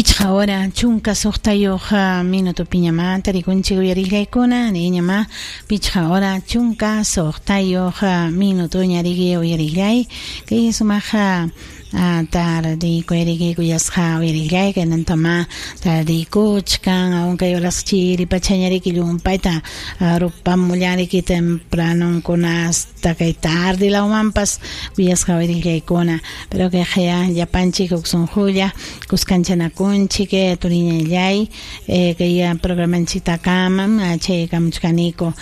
Pichqa hora 16 minutopiñamá tarikunchik uyariqllaykuna, niñamá pichqa hora 16 minutoña riki uyariqllay, kay sumaqa tardiyku kuyasqa uyariqllay, kaynantama tardiykuchkan, aun kay horas chiri pachaña riki llumpayta rupamullan riki tempranonkuna hasta kay tarde lawmanpas kuyasqa uyariqllaykuna, pero kay qaya llapanchik huk sunqulla kuskanchanakunchik turiñallay kay programanchiktakamam chaykamuchkaniku.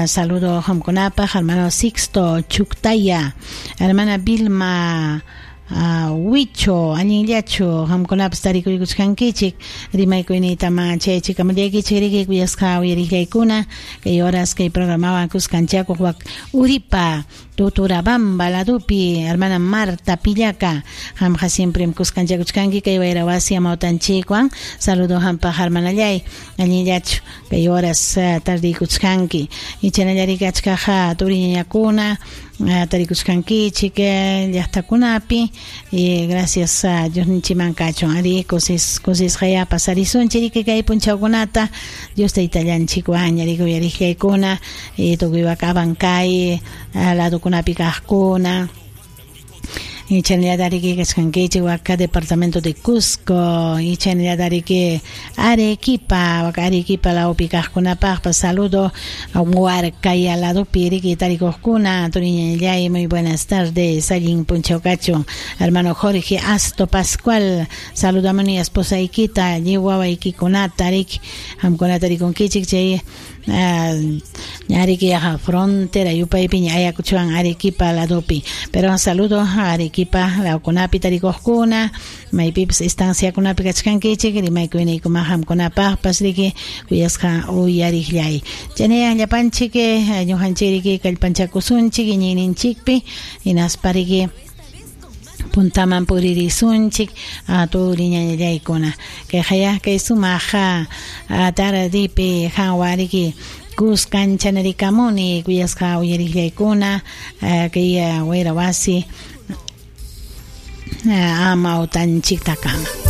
Saludo qamkunapaq hermano Sixto Chuctaya, hermana Vilma Huicho, allinllachu qamkunapas tarikuykuchkankichik, rimaykuyniytama chayachikamallaykichik riki kuyasqa uyariqllaykuna, kay horas kay programawan kuskanchakuq wak Uripa Tuturabamba ladupi hermana Marta Pillaca, qamqa siempre kuskanchakuchkanki kay wayra wasi amawtanchikwan, saludo qampaq hermanallay, allinllachu kay horas tardiykuchkanki, ichanallariki achkaqa turiñañakuna tarikuchkankichik llaqtakunapi, y gracias a Dios ninchiman kachun ari kusisqaya pasarisunchik riki kay punchawkunata Dios taytallanchikwan riki uyariqllaykuna tukuy wak Abancay ladukunapi kaqkuna, Ichanallariki kachkankichik waka departamento de Cusco, ichanallariki Arequipa, waka Arequipa lawpi kaqkunapaqpas saludo Huarcaya ladupi riki tarikuqkuna, turiñallay, muy buenas tardes, allin punchaw kachun, hermano Jorge Asto Pascual, saludamuni esposaykita, lliw wawaykikunata riki, qamkuna tarikunkichik chay ñariki yaqa frontera yupaypiña Ayacuchowan Arequipa ladupi, pero saludo Arequipa lawkunapi tarikuqkuna, maypipas estanciakunapi kachkankichik, rimaykuyniykuman qamkunapaqpas riki kuyasqa uyariqllay. Chaynayan llapanchik ñuqanchik riki kallpanchakusunchik iñiyninchikpi, hinaspa riki puntaman puririsunchik turiñallaykuna. Kay kay sumaq tardipi qanwan riki kuskanchanarikamuni kuyasqa uyariqllaykuna kay wayra wasi amawtanchiktakama.